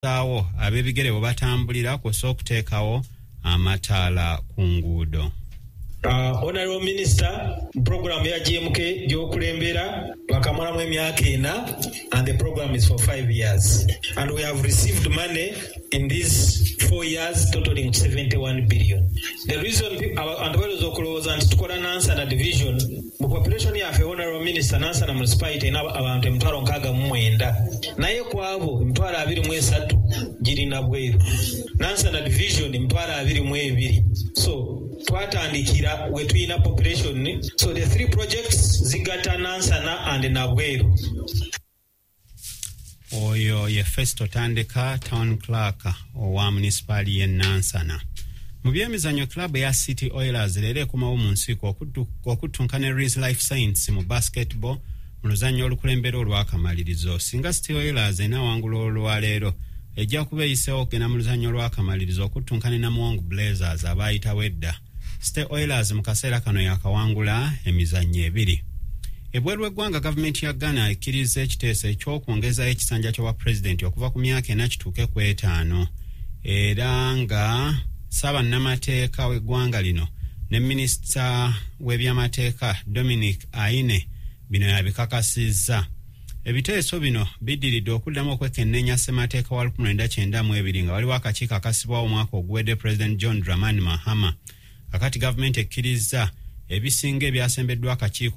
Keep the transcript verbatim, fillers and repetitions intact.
Saawo ab'ebigere bwe batambulira, kw'ossa okuteekawo amataala ku nguudo. Uh, honorable Minister, program ya G M K gy'okulembera bakamalamu emyaka ena and the program is for five years and we have received money in these four years totaling seventy-one billion. The reason abantu balowooza okulowooza nti tukola Nansana division mu population yaffe, Honorable Minister, Nansana Municipality erina abantu emitwalo nkaaga mu mwenda, naye ku abo emitwalo abiri mu esatu girina bweru. Nansana division emitwalo abiri mu ebiri. So twatandikira we tulina population, so the three projects zigatta Nansana and Nabweru. Oyo ye Festo Tandeka, town clerk owa munisipaali y'e Nansana. Mu byemizannyo, club eya City Oilers leero ekomawo mu nsiiko okuttunka ne Rees Life Science mu basketball mu luzannya olukulembera olwakamalirizo. Singa City Oilers enaawangula olwaleero, ejja kuba eyiseewo okugenda mu luzannya olwakamalirizo okuttunka ne Namuwongo Blazers abaayitawo edda. City Oilers mu kaseera kano yakawangula emizannyo ebiri. Ebweru w'eggwanga, gavumenti ya Ghana ekkiriza ekiteeso eky'okwongezayo ekisanja ky'obwa pulezidenti okuva ku myaka ena kituuke ku etaano, era nga ssaabannamateeka w'eggwanga lino ne minisita w'ebyamateeka Dominic Ayine bino yabikakasizza. Ebiteeso bino biddiridde okuddamu okwekenneenya ssemateeka wa nineteen ninety-two, nga waliwo akakiiko akasibwawo omwaka oguwedde President John Dramani Mahama. Kakati gavumenti ekkirizza ebisinga ebyasembeddwa akakiiko.